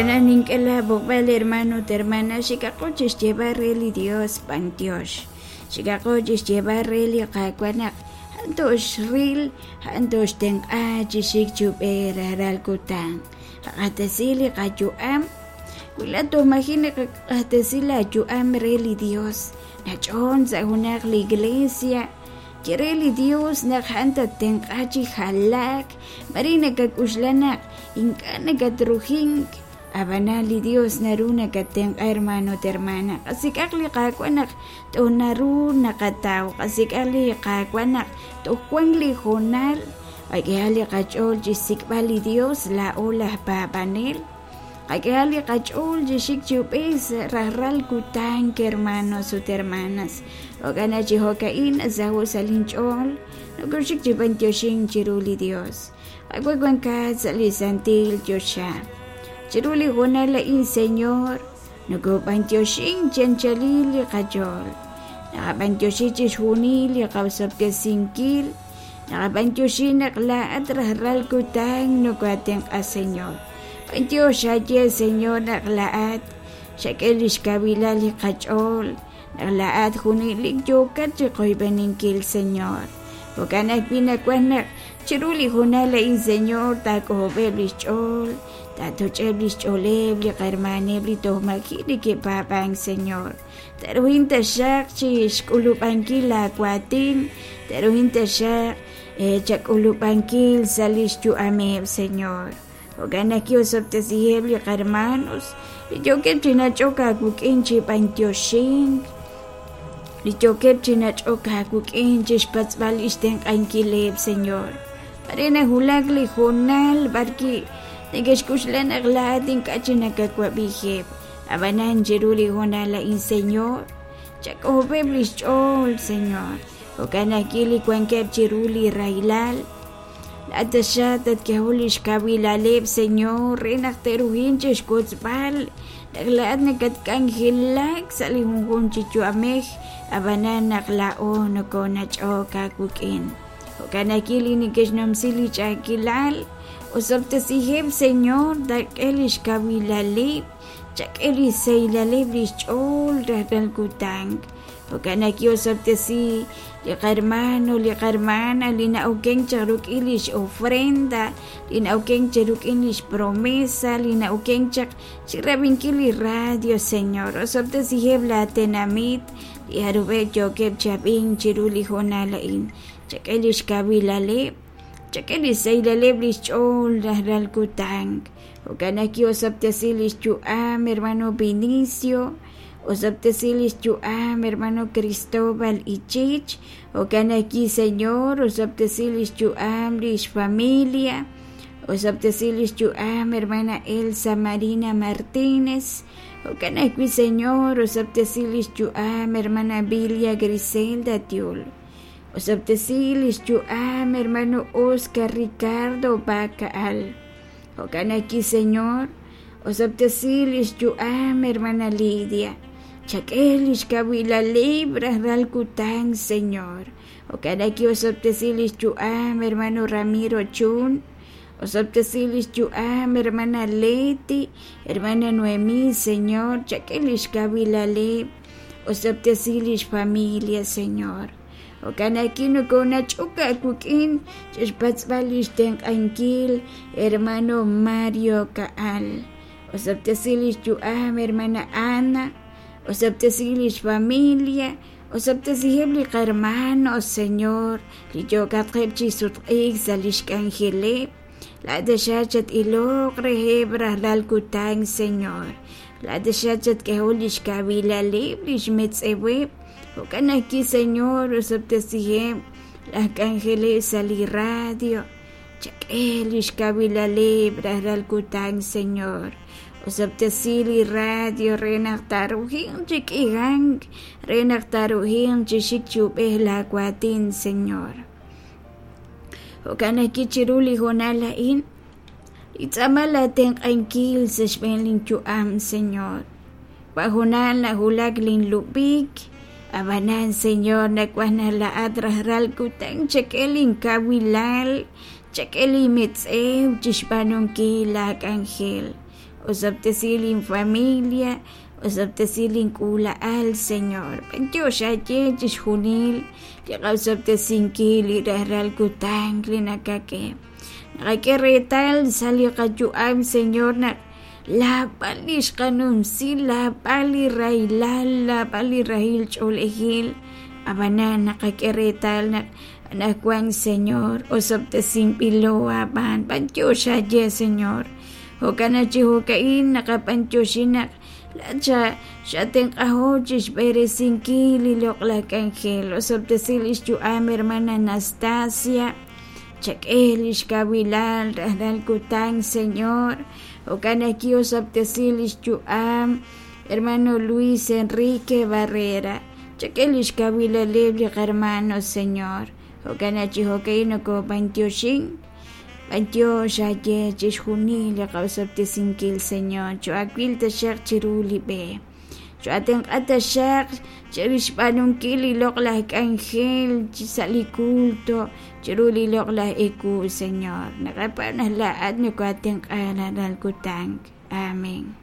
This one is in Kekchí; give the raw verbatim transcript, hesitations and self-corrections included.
Nink'e laab'oqb'al hermano ut hermana, xikaqo chixyeeb'al re li Dios b'antiox, xikaqo chixyeeb'al re li Qaawa' naq a'an toxril, a'an toxtenq'a chi xik chi ub'ej rajlal kutan, qaq'axtesi li qayu'am, wi laa'at toj maji' naqaq'axtesi laayu'am re li Dios, nach'on sa' junaq li iglesia, ye re li Dios naq a'an tattenq'a chi jalaak, mare nakak'uxla naq ink'a' nakatrujink, ab'anan li Dios naru nakatenq'a hermano ut hermana, qasik'aq li Qaawa' naq toj naru naqataw, qasik'aq li Qaawa' naq toj wank li hoonal, qak'ehaq li qach'ool chi xsik'b'al li Dios laa'o laj paab'anel, qak'ehaq li qach'ool chi xik chi ub'ej sa' rajlal kutan hermanos ut hermanas, jo'kan naq chi jo'ka'in nasaho' sa' linch'ool nokoxik chi b'antioxink chiru li Dios, Qaawa' wankat sa' li santil choxa. Chiru li hoonal a'in, Señor, nokob'antioxink chi anchalil li qach'ool, naqab'antioxi chixjunil li qaosob'tesinkil, naqab'antioxi naq laa'at rajlal kutan nokoatenq'a, Señor. B'antiox xaye, Señor, naq laa'at xak'e lix kawilal li qach'ool, naq laa'at junelik yookat chi qoyb'eninkil, Señor. Jo'kan ajwi' nawaj naq chiru li hoonal a'in, Señor, taak'ojob'eb' lix ch'ool, taatoch'eb' lix ch'ooleb' li qahermaneb' li toj maji' neke'paab'ank, Señor. Taruhin taxaq chi xk'ulub'ankil laawaatin, taruhin taxaq chak'ulub'ankil sa' lix yu'ameb', Señor. Jo'kan naq kiosob'tesiheb' li qahermanos li yookeb' chi nach'ok aawik'in chi b'antioxink, li yookeb' chi nach'ok aawik'in chi xpatz'b'al lix tenq'ankileb', Señor. Mare nawulak li hoonal b'arwi' neke'xk'uxla naq laa'at ink'a' chi nakawab'ijeb', ab'anan chiru li hoonal a'in, Señor, chak'ojob'eb' lix ch'ool, Señor. Jo'kan ajwi' li wankeb' chiru li rahilal, laa'at taxaq tatk'ehol lix kawilaleb', Señor, re naq te'ruhin chixwotzb'al naq laa'at nakatk'anjelak sa' li junjunq chi yu'amej, ab'anan naq laa'o nokonach'ok aawik'in. Jo'kan ajwi' li neke'xnumsi li ch'a'ajkilal, osob'tesiheb', Señor, taak'e lix kawilaleb', chak'e li sahilal lix ch'ool rajlal kutan. Jo'kan ajwi' osob'tesi li qahermano, li qahermana li na'okenk chaq rik'in lix ofrenda, li na'okenk chaq rik'in lix promesa, li na'okenk chaq chi rab'inkil li radio, Señor. Osob'tesiheb' laatenamit li jarub'eb' yookeb' chi ab'ink chiru li hoonal a'in, chak'e lix kawilaleb', chak'e li sahilal lix ch'ool rajlal kutan. Jo'kan ajwi' osob'tesi lix yu'am hermano Vinicio, osob'tesi lix yu'am hermano Cristóbal Ichich, jo'kan ajwi', Señor, osob'tesi lix yu'am lix familia, osob'tesi lix yu'am hermana Elsa Marina Martínez, jo'kan ajwi', Señor, osob'tesi lix yu'am hermana Bilia Griselda Tiul, osob'tesi lix yu'am hermano Oscar Ricardo Bacaal, jo'kan ajwi', Señor, osob'tesi lix yu'am hermana Lidia, chak'e lix kawilaleb' rajlal kutan, Señor. Jo'kan ajwi' osob'tesi lix yu'am hermano Ramiro Chun, osob'tesi lix yu'am hermana Leti, hermana Noemí, Señor, chak'e lix kawilaleb', osob'tesi lix familia, Señor. Jo'kan ajwi' nokonach'ok aawik'in chixpatz'b'al lix tenq'ankil hermano Mario Kaal, osob'tesi lix yu'am hermana Ana, osob'tesi lix familia, osob'tesiheb' li qahermanos, Señor, li yookatqeb' chi sutq'iik sa' lix k'anjeleb', laa'at taxaq chat-iloq reheb' rajlal kutan, Señor. Laa'at taxaq chatk'ehol lix kawilaleb', lix metz'eweb', jo'kan ajwi', Señor, osob'tesiheb' laj k'anjeleb' sa' li radio, chak'e lix kawilaleb' rajlal kutan, Señor. Osob'tesi li radio re naq taruhin chi k'ihank, re naq taruhin chi xik chi ub'ej laawaatin, Señor. Jo'kan ajwi' chiru li hoonal a'in, li tz'aama laatenq'ankil sa' xb'een linyu'am, Señor. Wa hoonal nawulak linlub'ik, ab'anan, Señor, nawaj naq laa'at rajlal kutan chak'e linkawilal, chak'e limetz'ew chixb'aanunkil laak'anjel. Osob'tesi linfamilia, osob'tesi link'uula'al, Señor. B'antiox aawe chixjunil li qaosob'tesinkil li rajlal kutan li nakak'e. Naqak'e reetal sa' li qayu'am, Señor, naq laab'al li xqanumsi, laab'al li rahilal, laab'al li rahil ch'oolejil, ab'anan naqak'e reetal naq anaqwan, Señor, osob'tesinb'ilo aab'aan. B'antiox aawe, Señor. Jo'kan naq chi jo'ka'in naqab'antioxi naq laat xatenq'aho chi xb'eresinkil li loq'laj k'anjel. Osob'tesi li xyu'am hermana Anastasia, chak'e li xkawilal rajlal kutan, Señor. Jo'kan ajwi' osob'tesi li xyu'am hermano Luis Enrique Barrera, chak'e li xkawilaleb' li qarmano, Señor. Jo'kan naq chi jo'ka'in nokob'antioxin. B'antiox aawe chixjunil li qaosob'tesinkil, Señor. Cho'awil taxaq chiru li b'e, cho'atenq'a taxaq chirixb'aanunkil li loq'laj k'anjel sa' li culto chiru li loq'laj ewu, Señor. Naqapaab' naq laa'at nokoatenq'a rajlal kutan. Amén.